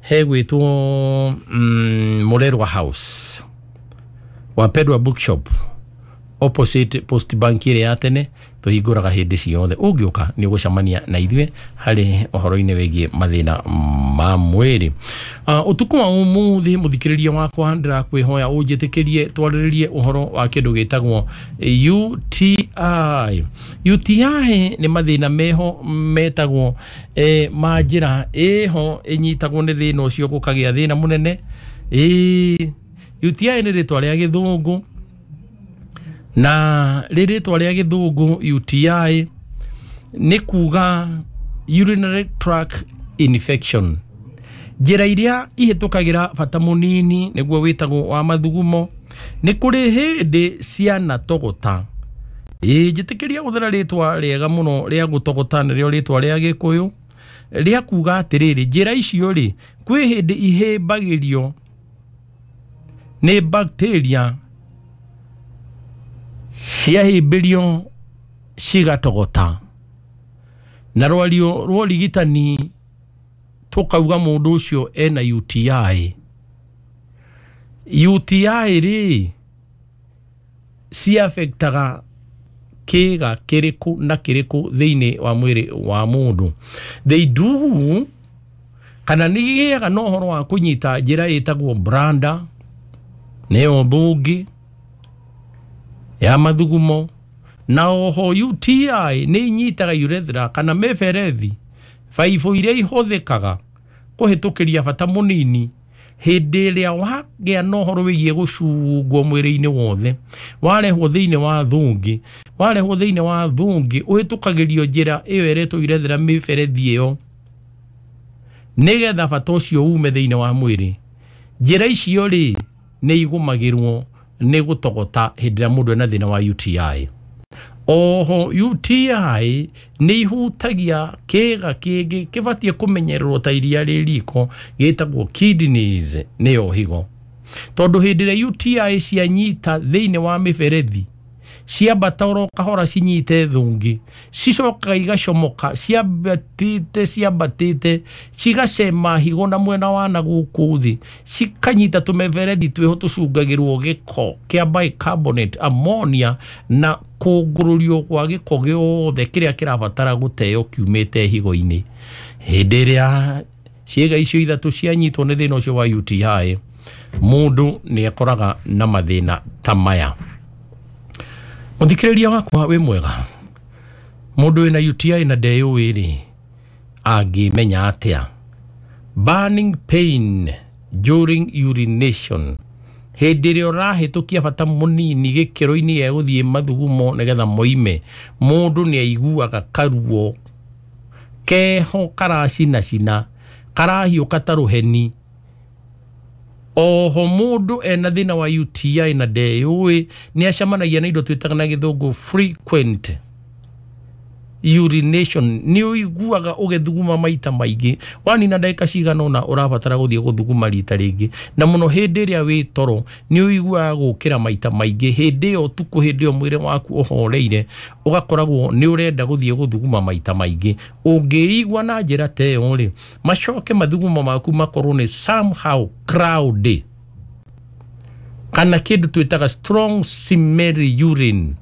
Hegwĩtwo Mũrerwa House, Wapendwa Bookshop, opposite Post Bank ĩrĩa ya tene. Tũhingũraga hĩndĩ ciothe. Ũngĩũka nĩ ũgũcemania na ithuĩ harĩ ũhoro-inĩ wĩgiĩ mathĩna ma mwĩrĩ. Ũtukũ wa ũmũthĩ, mũthikĩrĩria wakwa, ndĩrakwĩhoya ũnjĩtĩkĩrie twarĩrĩrie ũhoro wa kĩndũ gĩtagwo UTI. UTI nĩ mathĩna meho metagwo ma njĩra ĩho ĩnyitagwo nĩ thĩna ũcio gũkagĩa thĩna mũnene. Ĩĩ, UTI nĩ rĩtwa rĩa gĩthũngũ, na rĩrĩtwa rĩa gĩthũngũ UTI nĩ kuga urinary tract infection, njĩra iria ihĩtũkagĩra bata mũnini nĩguo wĩtagwo wa mathugumo. Nĩ kũrĩ hĩndĩ cianatogota. Ĩĩ, njĩtĩkĩria gũthera rĩtwa rĩega mũno rĩa gũtogota, nĩrĩo rĩtwa rĩa gĩkũyũ rĩa kuga atĩrĩrĩ, njĩra icio rĩ, kwĩ hĩndĩ ihĩmbagĩrio nĩ bacteria, ciahĩmbĩrio cigatogota, na rwario rwa ũrigitani tũkauga mũndũ ũcio ena UTI. UTI rĩ, ciafektaga kĩga kĩrĩkũ na kĩrĩkũ thĩinĩ wa mwĩrĩ wa mũndũ? They do, kana nĩ gĩaga na ũhoro wa kũnyita njĩra ĩtagwo bladder, nĩyo mbũngĩ ya mathugumo, na oho UTI nĩ inyitaga urethra kana mĩberethi, baibũ iria ihũthĩkaga kũhĩtũkĩria bata mũnini. Hĩndĩ ĩrĩa wagĩa na ũhoro wĩgiĩ gũcungwo mwĩrĩ-inĩ wothe, warehwo thĩinĩ wa thũngĩ, warehwo thĩinĩ wa thũngĩ, ũhĩtũkagĩrio njĩra ĩyo ĩretwo urethra, mĩberethi ĩyo, nĩgetha bata ũcio ume thĩinĩ wa mwĩrĩ. Njĩra icio rĩ, nĩ igũmagĩrwo nĩ gũtogota hĩndĩ ĩrĩa mũndũ ena thĩna wa UTI. Oho UTI nĩ ihutagia kĩga kĩngĩ kĩbatiĩ kũmenyererwo ta iria rĩ riko, gĩtagwo kidneys, nĩyo higo, tondũ hĩndĩ ĩrĩa UTI cianyita thĩinĩ wa mĩberethi, ciambata oro kahora cinyite thũngĩ, cicokaga igacomoka ciambatĩte, ciambatĩte, cigacema higo na mwena wa na gũkũ thĩ, cikanyita tũmĩberethi twĩho tũcungagĩrwo gĩko kĩa bicarbonate, ammonia, na kũngũrũrio gwa gĩko gĩothe kĩrĩa kĩrabatara gũteo kiumĩte higo-inĩ. Hĩndĩ ĩrĩa ciĩga icio ithatũ cianyitwo nĩ thĩna ũcio wa UTI, mũndũ nĩ akoraga na mathĩna ta maya. Mũthikĩrĩria wakwa wĩ mwega, mũndũ wĩna UTI na ndeyũĩ rĩ, angĩmenya atĩa? Burning pain during urination, hĩndĩ ĩrĩa ũrahĩtũkia bata mũnini gĩkĩro-inĩ gĩa gũthiĩ mathugumo nĩgetha moime, mũndũ nĩ aiguaga karuo keho karacinacina, karahiũka ta rũheni. Oho mũndũ ena thĩna wa UTI na ndeyũĩ nĩ acemanagia na indo twĩtaga na gĩthũngũ frequent urination. Nĩ ũiguaga ũgĩthuguma maita maingĩ, wanina ndagĩka cigana ũna ũrabatara gũthiĩ gũthuguma rita rĩngĩ, na mũno hĩndĩ ĩrĩa wĩ toro nĩ ũiguaga gũkĩra maita maingĩ. Hĩndĩ ĩyo ũtukũ, hĩndĩ ĩyo mwĩrĩ waku ũhoreire, ũgakoragwo nĩ ũrenda gũthiĩ gũthuguma maita maingĩ. Ũngĩigua na njĩra ta ĩyo rĩ, macoke mathugumo maku makorwo nĩ somehow cloudy, kana kĩndũ twĩtaga strong smelly urine,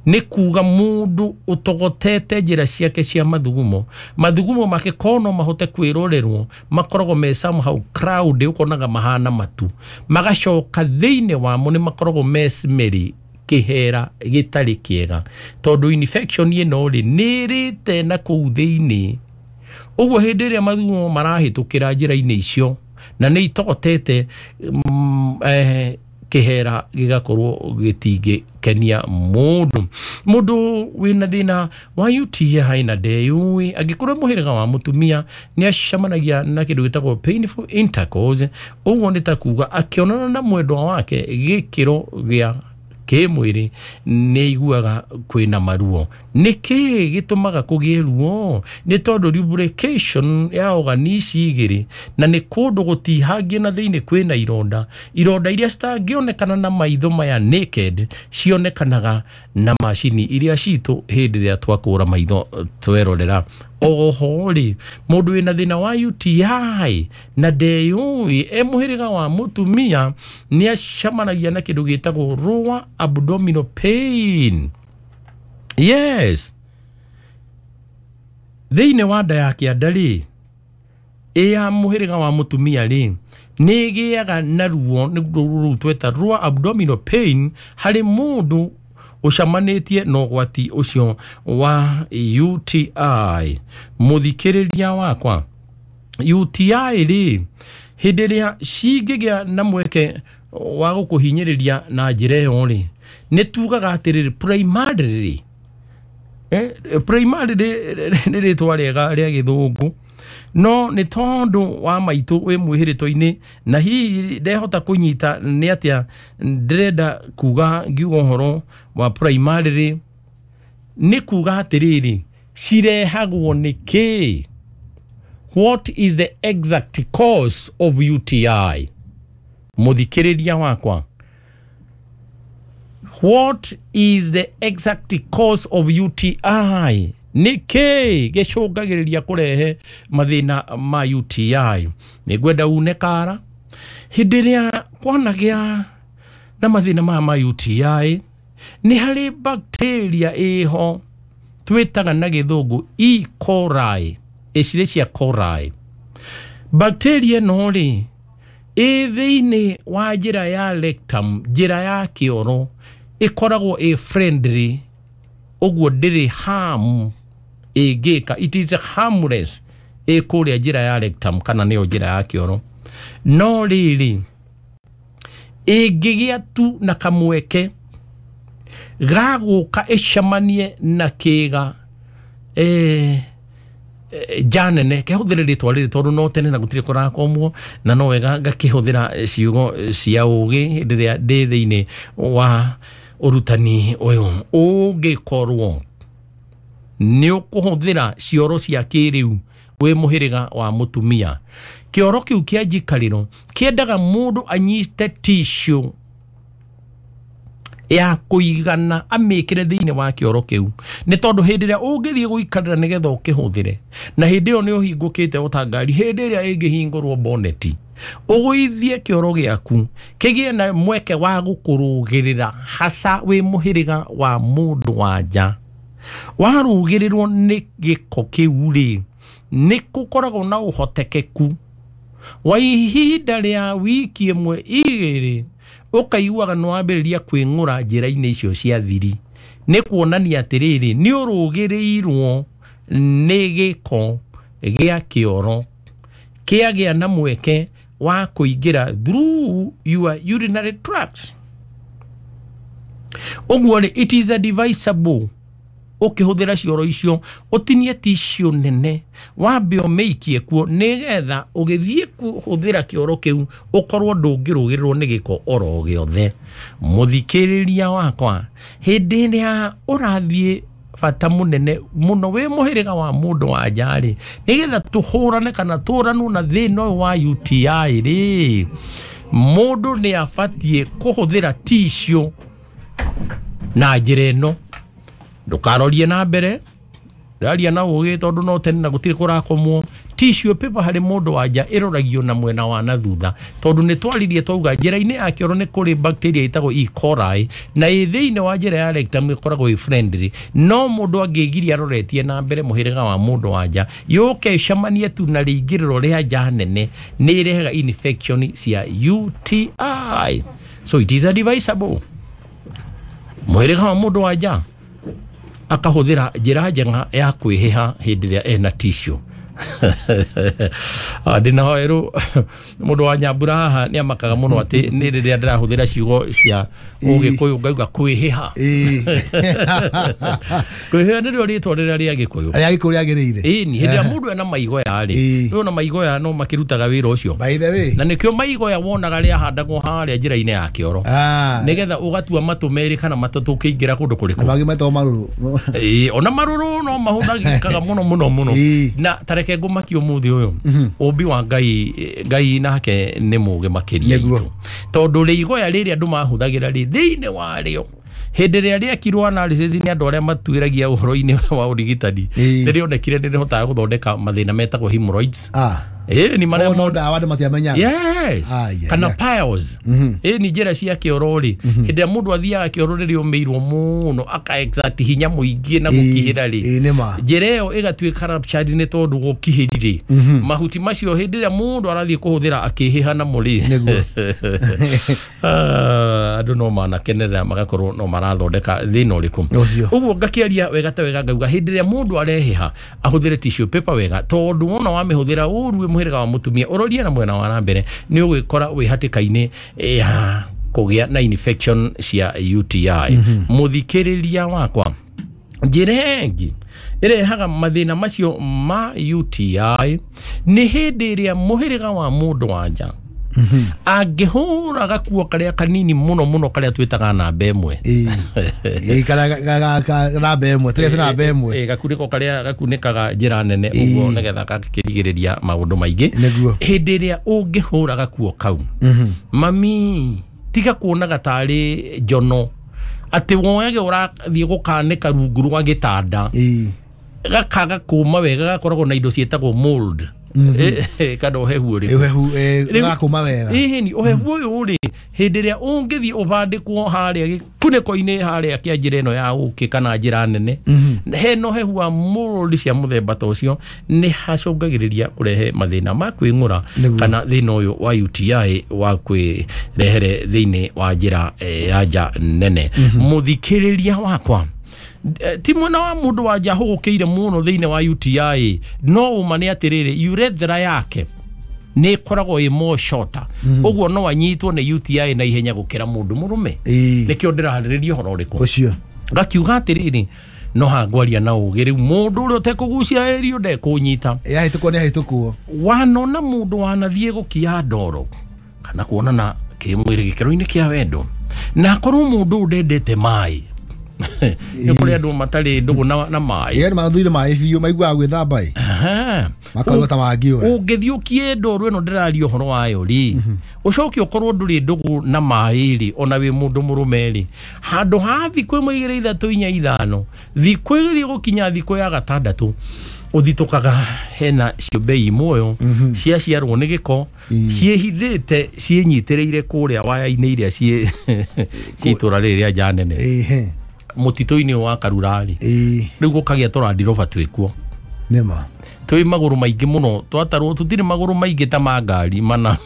nĩ kuga mũndũ ũtogotete njĩra ciake cia mathugumo, mathugumo make kono mahote kwĩrorerwo makoragwo me somehow cloudy, ũkonaga mahana matu, magacoka thĩinĩ wamo nĩ makoragwo me smelly, kĩhera gĩtarĩ kĩega, tondũ infection ĩno rĩ, nĩ ĩrĩte na kũu thĩinĩ. Ũguo hĩndĩ ĩrĩa mathugumo marahĩtũkĩra njĩra-inĩ icio na nĩ itogotete, kĩhera gĩgakorwo gĩtingĩkenia mũndũ. Mũndũ wĩna thĩna wa UTI na ndeyũĩ, angĩkorwo mũhĩrĩga wa mũtumia, nĩ acemanagia na kĩndũ gĩtagwo painful intercourse. Ũguo nĩ ta kuga akĩonana na mwendwa wake gĩkĩro gĩa kĩmwĩrĩ, nĩ aiguaga kwĩna maruo. Nĩ kĩĩ gĩtũmaga kũgĩe ruo? Nĩ tondũ lubrication ya organ ici igĩrĩ, na nĩ kũndũ gũtihangie na thĩinĩ kwĩna ironda, ironda iria citangĩonekana na maitho maya naked, cionekanaga na macini iria citũ hĩndĩ ĩrĩa twakũra maitho twerorera. Oho rĩ, mũndũ wĩna thĩna wa UTI na ndeyũĩ e mũhĩrĩga wa mũtumia nĩ acemanagia na kĩndũ gĩtagwo lower abdominal pain. Yes, thĩinĩ wa nda ya kĩanda rĩ, ĩ ya mũhĩrĩga wa mũtumia rĩ, nĩ ĩgĩaga na ruo, nĩ rũu tweta lower abdominal pain harĩ mũndũ ũcamanĩtie na ũgwati ũcio wa UTI. Mũthikĩrĩria wakwa, UTI rĩ, hĩndĩ ĩrĩa cingĩgĩa na mweke wa gũkũhinyĩrĩria na njĩra ĩyo rĩ, nĩ tugaga atĩrĩrĩ, primarily primary nĩ rĩtwa rĩega rĩa gĩthũngũ, no nĩ tondũ wa maitũ wĩ mwĩhĩrĩto-inĩ na hihi ndehota kũnyita nĩ atĩa ndĩrenda kuga ngiuga ũhoro wa primary, nĩ kuga atĩrĩrĩ, cirehagwo nĩ kĩ? What is the exact cause of UTI? Mũthikĩrĩria wakwa, what is the exact cause of UTI? Nĩ kĩ gĩcũngagĩrĩria kũrehe mathĩna ma UTI? Nĩ ngwenda une kara hĩndĩ ĩrĩa kwanagĩa na mathĩna maya ma UTI, nĩ harĩ bacteria ĩho twĩtaga na gĩthũngũ E. coli, Escherichia coli. Bacteria ĩno rĩ, ĩ thĩinĩ wa njĩra ya rectum, njĩra ya kĩoro, ĩkoragwo ĩ friendly, ũguo ndĩrĩ harm ĩngĩka, it is harmless ĩ kũrĩa njĩra ya rectum kana nĩyo njĩra ya kĩoro. No rĩrĩ, ĩngĩgĩa tu na kamweke ga gũka ĩcemanie na kĩga nja nene, kehũthĩre rĩtwa rĩrĩ tondũ no tene na gũtirĩ kũrakomwo, na no wega ngakĩhũthĩra ciugo cia ũgĩ hĩndĩ ĩrĩa ndĩ thĩinĩ wa ũrutani ũyũ. Ũngĩkorwo nĩ ũkũhũthĩra cioro cia kĩrĩu wĩ mũhĩrĩga wa mũtumia, kĩoro kĩu kĩa njikarĩro kĩendaga mũndũ anyite tissue ya kũigana amĩkĩre thĩinĩ wa kĩoro kĩu, nĩ tondũ hĩndĩ ĩrĩa ũngĩthiĩ gũikarĩra nĩgetha ũkĩhũthĩre, na hĩndĩ ĩyo nĩ ũhingũkĩte ota ngari, hĩndĩ ĩrĩa ĩngĩhingũrwo boneti, ũgũithie kĩoro gĩaku kĩgĩe na mweke wa gũkũrũgĩrĩra, hasa wĩ mũhĩrĩga wa mũndũ wa nja. Warũgĩrĩrwo nĩ gĩko kĩu rĩ, nĩ gũkoragwo na ũhotekeku wa ihinda rĩa wiki ĩmwe igĩrĩ ũkaiguaga nĩ wambĩrĩria kwĩng'ũra njĩra-inĩ icio cia thiri. Nĩ kuonania atĩrĩrĩ, nĩ ũrũgĩrĩirwo nĩ gĩko gĩa kĩoro kĩagĩa na mweke wa kũingĩra through your urinary tract. Ũguo rĩ, it is advisable ũkĩhũthĩra cioro icio ũtinie tissue nene, wambe ũmĩikie kuo nĩgetha ũgĩthiĩ kũhũthĩra kĩoro kĩu ũkorwo ndũngĩrũgĩrĩrwo nĩ gĩko oro gĩothe. Mũthikĩrĩria wakwa, hĩndĩ ĩrĩa ũrathiĩ bata mũnene mũno wĩ mũhĩrĩga wa mũndũ wa nja rĩ, nĩgetha tũhũrane kana tũranwo na thĩna ũyũ wa UTI rĩ, mũndũ nĩ abatiĩ kũhũthĩra tissue na njĩra ĩno. Ndũkarorie na mbere, ndaria na ũgĩ tondũ no tene na gũtirĩ kũrakomwo. Tissue paper harĩ mũndũ wa nja ĩroragio na mwena wa na thutha, tondũ nĩ twaririe twauga njĩra-inĩ ya kĩoro nĩ kũrĩ bacteria ĩtagwo E. coli, na ĩ thĩinĩ wa njĩra ya rectum ĩkoragwo ĩ friendly. No mũndũ angĩgiria aroretie na mbere mũhĩrĩga wa mũndũ wa nja, yũke ĩcemanie tu na rĩingĩrĩro rĩa nja nene, nĩ ĩrehaga infection cia UTI. So it is advisable mũhĩrĩga wa mũndũ wa nja akahũthĩra njĩra njega ya kwĩhĩha hĩndĩ ĩrĩa ena tissue. Ndĩna hoerũ mũndũ wa Nyambura haha nĩ amakaga mũno atĩ nĩ rĩrĩa ndĩrahũthĩra ciugo cia ũgĩkũyũ ngauga kwĩhĩha. Kwĩhĩha nĩrĩo rĩtwa rĩrĩa rĩa gĩkũyũ. Rĩa gĩkũyũ rĩagĩrĩire. Ĩni, hĩndĩ ĩrĩa mũndũ ena maigoya rĩ, rĩu ona maigoya no makĩrutaga wĩra ũcio. By the way. Na nĩkĩo maigoya wonaga rĩahandagwo harĩa njĩra-inĩ ya kĩoro. Nĩgetha ũgatua matũ merĩ kana matatũ ũkĩingĩra kũndũ kũrĩkũ. Na mangĩ metagwo marũrũ. Ĩĩ, ona marũrũ no mahũthagĩkaga mũno mũno mũno. Na tareke ngũmakie ũmũthĩ ũyũ, ũmbi wa Ngai, Ngai nake nĩ mũgĩ makĩria itũ. Tondũ rĩigoya rĩrĩa andũ mahũthagĩra rĩ, thĩinĩ warĩo Hĩndĩ ĩrĩa rĩekirwo analysis nĩ andũ arĩa matuĩragia ũhoro-inĩ wa ũrigitani, nĩ rĩonekire nĩ rĩhotaga gũthondeka mathĩna metagwo hemorrhoids. Ni marĩa no ndawa andũ matiamenyaga. Yes. Kana piles. Ni njĩra cia kĩoro rĩ, hĩndĩ ĩrĩa mũndũ athiaga kĩoro rĩrĩa ũmĩirwo mũno aka exert hinya mũingĩ na gũkihĩra rĩ, njĩra ĩyo ĩgatuĩka ruptured nĩ tondũ gũkihĩri rĩ, mahuti macio hĩndĩ ĩrĩa mũndũ arathiĩ kũhũthĩra akĩhĩha namo rĩ, andũ no manakenerera magakorwo no marathondeka thĩna ũrĩkũ. Ũguo ngakĩaria wega ta wega ngauga hĩndĩ ĩrĩa mũndũ arehĩha ahũthĩre tissue paper wega, tondũ wona wamĩhũthĩra ũru mũhĩrĩga wa mũtumia ũrorie na mwena wa na mbere nĩ ũgwĩkora wĩ hatĩka-inĩ ya kũgĩa na infection cia UTI. Mũthikĩrĩria wakwa, njĩra ĩngĩ ĩrehaga mathĩna macio ma UTI nĩ hĩndĩ ĩrĩa mũhĩrĩga wa mũndũ wa nja angĩhũra gakuo karĩa kanini mũno mũno karĩa twĩtaga namba ĩmwe, namba ĩmwe tũgete namba ĩmwe, gakunĩko karĩa gakunĩkaga njĩra nene ũguo nĩgetha gakĩrigĩrĩria maũndũ maingĩ. Hĩndĩ ĩrĩa ũngĩhũra gakuo kau, mami tiga kuonaga tarĩ njono atĩ woyage ũrathiĩ gũkanĩka rungu rwa gĩtanda, gakaga kũma wega, gakoragwo na indo ciĩtagwo mold, kana ũhehu ũrĩkũ, gakũma wega. Ĩhĩni ũhehu ũyũ rĩ, hĩndĩ ĩrĩa ũngĩthiĩ ũbandĩkwo harĩa gĩkunĩko-inĩ harĩa kĩa njĩra ĩno ya ũkĩ kana njĩra nene, hena ũhehu wa mold cia mũthemba ta ũcio, nĩ hacũngagĩrĩria kũrehe mathĩna ma kwĩng'ũra kana thĩna ũyũ wa UTI wa kwĩrehere thĩinĩ wa njĩra ya nja nene. Mũthikĩrĩria wakwa, ti mwena wa mũndũ wa nja hũgũkĩire mũno thĩinĩ wa UTI, no ũma nĩ atĩrĩrĩ, urethra yake nĩ ĩkoragwo ĩ more shorter, ũguo no anyitwo nĩ UTI na ihenya gũkĩra mũndũ mũrũme. Nĩkĩo ndĩraharĩrĩria ũhoro ũrĩkũ ũcio. Ngakiuga atĩrĩrĩ, no hangwaria na ũgĩ rĩu mũndũ ũrĩa ũtekũgucia ĩrio ndekũnyita, yahĩtũkwo nĩ ahĩtũkwo. Wanona mũndũ wanathiĩ gũkia ndoro kana kuonana kĩmwĩrĩ gĩkĩro-inĩ kĩa wendo, na akorwo mũndũ ũyũ ndendete maĩ, nĩ kũrĩ andũ matarĩ ndũgũ na maĩ, ĩĩ mathire maĩ biũ maiguaga gwĩthamba ĩ, makarwo ta mangĩũra. Ũngĩthiĩ ũkie ndoro ĩno ndĩraria ũhoro wayo rĩ, ũcoke ũkorwo ndũrĩ ndũgũ na maĩ rĩ, ona wĩ mũndũ mũrũme rĩ, handũ ha thikũ 1 2 3 4 5 thikũ ĩgĩthiĩ gũkinya thikũ ya gatandatũ, ũthitũkaga hena ciũmbe i muoyo ciaciarwo nĩ gĩko, ciĩhithĩte ciĩnyitĩrĩire kũrĩa waya-inĩ iria ciĩ itũra rĩrĩ rĩa nja nene, mũtitũ-inĩ wa Karurari. Rĩu gũkagĩa tũrandiroba twĩkuo nĩma twĩ magũrũ maingĩ mũno, twatarwo tũtirĩ magũrũ maingĩ ta ma ngari mana,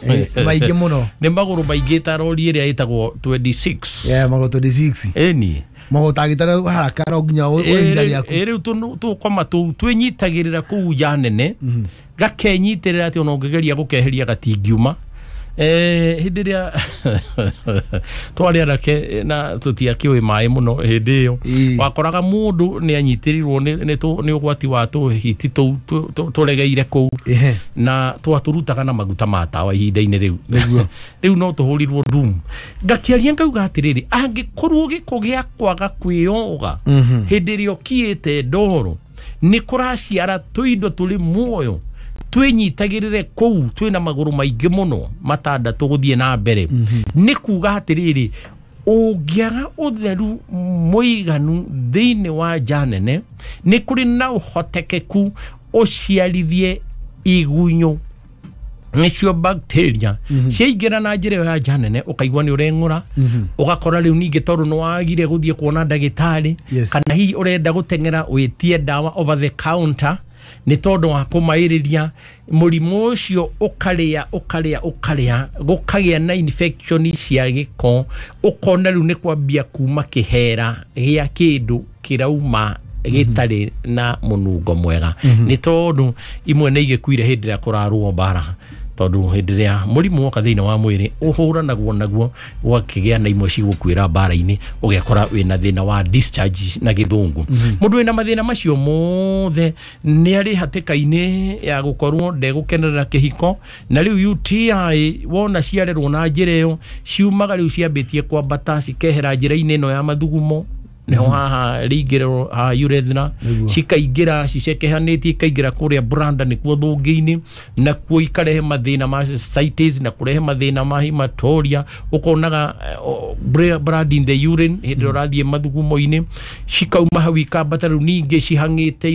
maingĩ mũno, nĩ magũrũ maingĩ ta rori ĩrĩa ĩtagwo 26. Magũrũ 26. Ĩni magũrũ tangĩtara haraka no nginya ihinda rĩaku. Rĩu tũkoma tũu twĩnyitagĩrĩra kũu nja nene, gakenyitĩrĩra atĩ ona ũngĩgeria gũkeheria gatingiuma. Hĩndĩ ĩrĩa twarĩ anake na tũtiakĩũĩ maĩ mũno hĩndĩ ĩyo, wakoraga mũndũ nĩ anyitĩrĩirwo nĩ ũgwati wa tũhiti tũu tũregeire kũu, na twatũrutaga na maguta ma tawa ihinda-inĩ rĩu. Rĩu no tũhũrirwo ndumu. Ngakĩaria ngauga atĩrĩrĩ, angĩkorwo gĩko gĩa kwaga kwĩyoga hĩndĩ ĩrĩa ũkiĩte ndoro nĩ kũraciara tũindo tũrĩ muoyo twĩnyitagĩrĩre kũu twĩna magũrũ maingĩ mũno matandatũ gũthiĩ na mbere, nĩ kuga atĩrĩrĩ, ũngĩaga ũtheru mũiganu thĩinĩ wa nja nene, nĩ kũrĩ na ũhotekeku ũciarithie igunyũ nĩcio bacteria ciaingĩra na njĩra ĩyo ya nja nene, ũkaigua nĩ ũreng'ũra, ũgakora rĩu ningĩ tondũ nĩ wagire gũthiĩ kuona ndagĩtarĩ, kana hihi ũrenda gũteng'era wĩtie ndawa over the counter nĩ tondũ wa kũmaĩrĩria mũrimũ ũcio, ũkarĩa ũkarĩa ũkarĩa, gũkagĩa na infection cia gĩko, ũkona rĩu nĩ kwambia kuma kĩhera gĩa kĩndũ kĩrauma gĩtarĩ na mũnungo mwega, nĩ tondũ imwe nĩ igĩkuire hĩndĩ ĩrĩa kũrarũo mbara, tondũ hĩndĩ ĩrĩa mũrimũ woka thĩinĩ wa mwĩrĩ ũhũranagwo naguo, gwakĩgĩa na imwe cigũkuĩra mbara-inĩ, ũgekora wĩna thĩna wa discharge na gĩthũngũ. Mũndũ wĩna mathĩna macio mothe nĩ arĩ hatĩka-inĩ ya gũkorwo ndegũkenerera kĩhiko, na rĩu UTI wona ciarerwo na njĩra ĩyo, ciumaga rĩu ciambĩtie kwambata cikehera njĩra-inĩ ĩno ya mathugumo Nĩho haha rĩingĩrĩro haha urethra, cikaingĩra cicekehanĩtie, ikaingĩra kũrĩa branda nĩkuo thũngĩ-inĩ, nakuo ikarehe mathĩna ma cystitis na kũrehe mathĩna ma hematuria. Ũkonaga blood in the urine hĩndĩ ĩrĩa ũrathiĩ mathugumo-inĩ. Cikauma hau ikambata rĩu ningĩ cihang'ĩte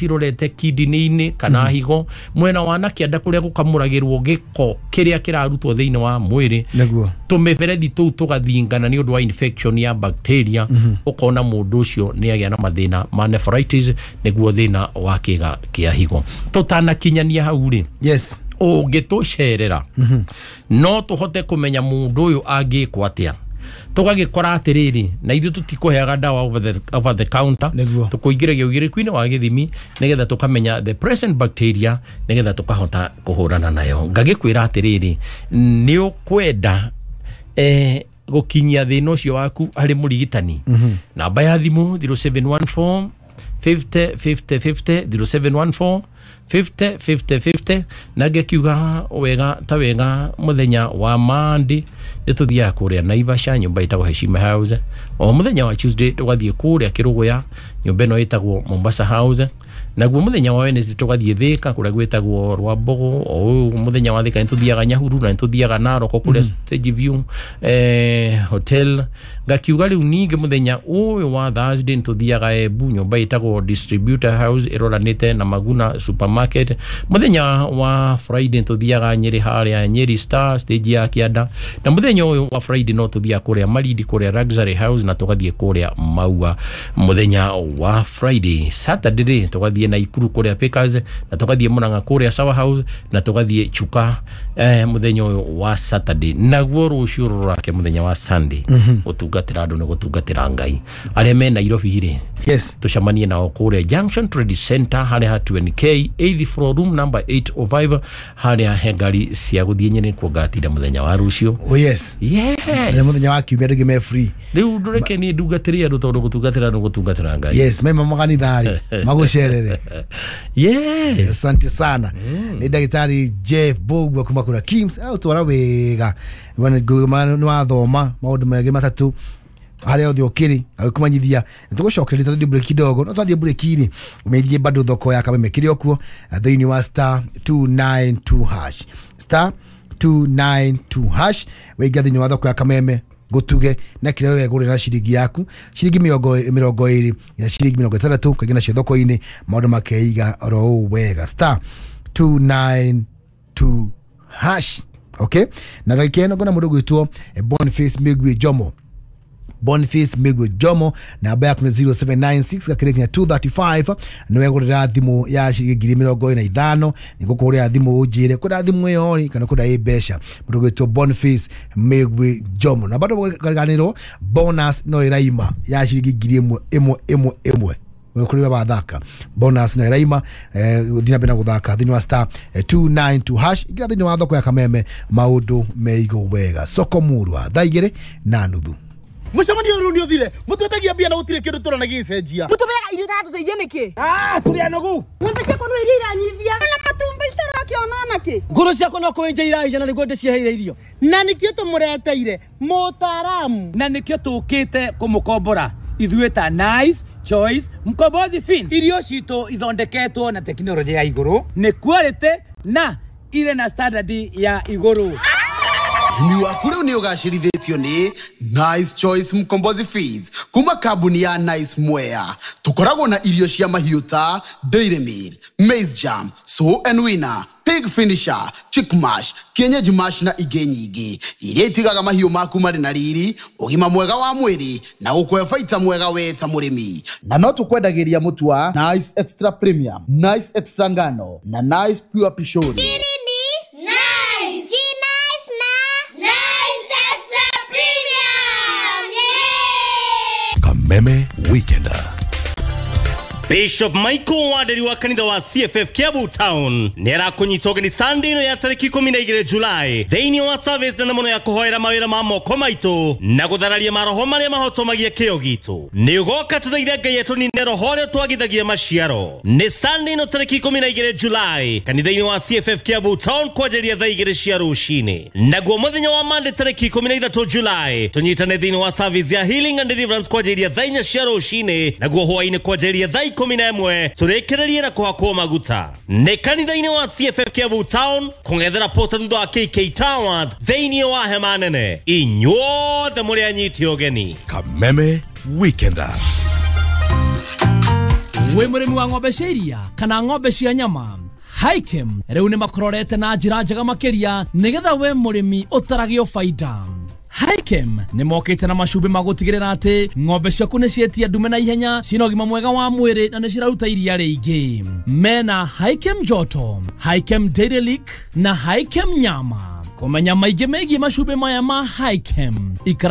irorete kidney-inĩ kana higo mwena wa na kĩanda kũrĩa gũkamũragĩrwo gĩko kĩrĩa kĩrarutwo thĩinĩ wa mwĩrĩ. Tũmĩberethi tũu tũgathingana nĩ ũndũ wa infection ya bacteria. Ũkona mũndũ ũcio nĩ agĩa na mathĩna ma nephritis, nĩguo thĩna wa kĩga kĩa higo. Tũtanakinyania hau rĩ, yes, ũngĩtũcerera no tũhote kũmenya mũndũ ũyũ angĩkwo atĩa. Tũgagĩkora atĩrĩrĩ, na ithuĩ tũtikũheaga ndawa over the counter, tũkũingĩragia ũgĩrĩku-inĩ wa gĩthimi nĩgetha tũkamenya the present bacteria nĩgetha tũkahota kũhũrana nayo. Ngagĩkwĩra atĩrĩrĩ, nĩ ũkwenda gũkinyia thĩna ũcio waku harĩ mũrigitani. Namba ya thimũ 0714 50 50 50, 0714 50 50 50. Na ngĩkiuga wega ta wega, mũthenya wa Monday nĩ tũthiaga kũrĩa Naivasha, nyũmba ĩtagwo Heshima House. O mũthenya wa Tuesday tũgathiĩ kũrĩa Kĩrũgũya, nyũmba ĩno ĩtagwo Mombasa House. Naguo mũthenya wa Wednesday tũgathiĩ Thĩka kũrĩa gwĩtagwo Rwambogo. O ũyũ mũthenya wa Thĩka nĩ tũthiaga Nyahururu na nĩ tũthiaga Narok kũrĩa Stage View Hotel. Ngakiuga rĩu ningĩ mũthenya ũyũ wa Thursday nĩ tũthiaga Embu, nyũmba ĩtagwo Distributor House ĩroranĩte na Maguna Supermarket. Mũthenya wa Friday nĩ tũthiaga Nyĩrĩ harĩa Nyĩrĩ Star stage ya kĩanda. Na mũthenya ũyũ wa Friday no tũthiaga kũrĩa Malindi kũrĩa Luxury House, na tũgathiĩ kũrĩa Maua mũthenya wa Friday. Saturday rĩ tũgathiĩ Naikuru kũrĩa Pickers, na tũgathiĩ Murang'a kũrĩa Sour House, na tũgathiĩ Chuka mũthenya ũyũ wa Saturday. Naguo rũciũ rũrake mũthenya wa Sunday, gũtungatĩra andũ nĩ gũtungatĩra Ngai. Arĩa me Nairobi rĩ, yes, tũcemanie nao kũrĩa Junction Trade Center harĩa ha 20K 8th floor room number 805, harĩa he ngari cia gũthiĩ Nyĩrĩ kuo ngatinda mũthenya wa rũciũ. Oh yes. Yes. Mũthenya wa kiumia ndũngĩ me free. Rĩu ndũreke niĩ ndungatĩre andũ tondũ gũtungatĩra nĩ gũtungatĩra Ngai. Yes, mema makanitha-rĩ magũcerere. Yes. Asante sana. Nĩ ndagĩtarĩ Jeff Mbugua kuma kũrĩa KIMS. Aũtwara wega. Nĩ wathoma maũndũ merĩ matatũ harĩa othe ũkĩrĩ agĩkũmenyithia. Nĩtũgũcokereria tũthiĩ break kidogo, no twathiĩ break rĩ ũmenyithie bado thoko ya Kameme kĩrĩ o kuo thĩinĩ wa star 292 hash, star 292 hash. Wĩingĩra thĩinĩ wa thoko ya Kameme gũtuge na kĩrĩa we gũrĩra na ciringi yaku, ciringi 20 ya ciringi 60 kaingĩ nacio thoko-inĩ, maũndũ makeiga oro ũũ wega, star 292 hash. Okay, na ndagĩka ĩno ngona mũndũ ũgwĩtwo Boniface Migwi Jomo. Boniface Migwi Jomo, namba yaku nĩ 0796 gakĩrĩ nginya 235. Nĩ wegũrĩra thimũ ya ciringi 45,000. Nĩngũkũhũrĩra thimũ ũnjĩre kwenda thimũ ĩyo rĩ kana kwenda ĩ mbeca. Mũndũ ũgwĩtwo Boniface Migwi Jomo. Na bado kariganĩrwo bonus no ĩraima ya ciringi 1,000 ĩmwe ĩmwe ĩmwe kũrĩ wathaka bonus no ĩraima. Gũthiĩ na mbere na gũthaka thĩinĩ wa star 292 hash. Ingĩra thĩinĩ wa thoko ya Kameme maũndũ meigo wega. Soko murwa thaa 2:30. Mũcemanio ũyũ nĩ ũthire, mũtwetagia mbia na gũtirĩ kĩndũ tũrona gĩgĩcenjia. Mũtũmĩaga irio itaratũteithia nĩkĩ? Tũrĩ anogu. Ng'ombe ciakwa no iria iranyivia. Na matumbĩ citarakĩona nakĩ? Ngũrũ ciakwa no kũenja iraija na nĩguo ndĩciheire irio. Na nĩkĩo tũmũreteire mũtaaramu. Na nĩkĩo tũkĩte kũmũkombora ithuĩ ta Nice Choice Mkombozi Fin. Irio citũ ithondeketwo na tekinoronjĩ ya igũrũ, nĩ quality na irĩ na standard ya igũrũ. Ũrĩmi waku rĩu nĩ ũgacĩrithĩtio nĩ Nice Choice Mkombozi Feeds kuma kambuni ya Nice Mwea. Tũkoragwo na irio cia mahiũ ta Dairy Meal, Maize Jam, Sow and Winner, Pig Finisher, Chick Mash, Kienyeji Mash na ingĩ nyingĩ iria itigaga mahiũ maku marĩ na riri, ũgima mwega wa mwĩrĩ na gũkũhe baita mwega we ta mũrĩmi. Na no tũkwendagĩria mũtu wa Nice Extra Premium, Nice Extra Ngano na Nice Pure Pishori. Kameme Weekender. Bishop Michael Wanderi wa kanitha wa CFF Kiambu Town nĩ arakũnyita ũgeni Sunday ĩno ya tarĩki 12 July thĩinĩ wa service nene mũno ya kũhoera mawĩra ma moko maitũ na gũthararia maroho marĩa mahotomagia kĩo gitũ. Nĩ ũgoka tũthaithe Ngai atũnine roho ũrĩa twagithagia maciaro. Nĩ Sunday ĩno tarĩki 12 July kanitha-inĩ wa CFF Kiambu Town kwanjĩrĩria thaa 2 cia rũcinĩ. Naguo mũthenya wa Monday tarĩki 13 July tũnyitane thĩinĩ wa service ya Healing and Deliverance kwanjĩrĩria thaa 4 cia rũcinĩ, naguo hwaĩ-inĩ kwanjĩrĩria thaa 11 tũrĩkĩrĩrie na kũhakwo maguta. Nĩ kanitha-inĩ wa CFF Kiambu Town kũng'ethera posta thutha wa KK Towers thĩinĩ wa hema nene. Inyuothe mũrĩ anyiti ũgeni. Kameme Weekender. Wĩ mũrĩmi wa ng'ombe cia iria kana ng'ombe cia nyama, Hikem rĩu nĩ makũrorete na njĩra njega makĩria nĩgetha we mũrĩmi ũtaragio baida. Hikem nĩ mokĩte na macumbĩ ma gũtigĩrĩra atĩ ng'ombe ciaku nĩ cietia ndume na ihenya, cina ũgima mwega wa mwĩrĩ na nĩ ciraruta iria rĩingĩ. Mena Hikem Joto, Hikem Dairy Lick na Hikem Nyama. Kũmenya maingĩ megiĩ macumbĩ maya ma Hikem, ikara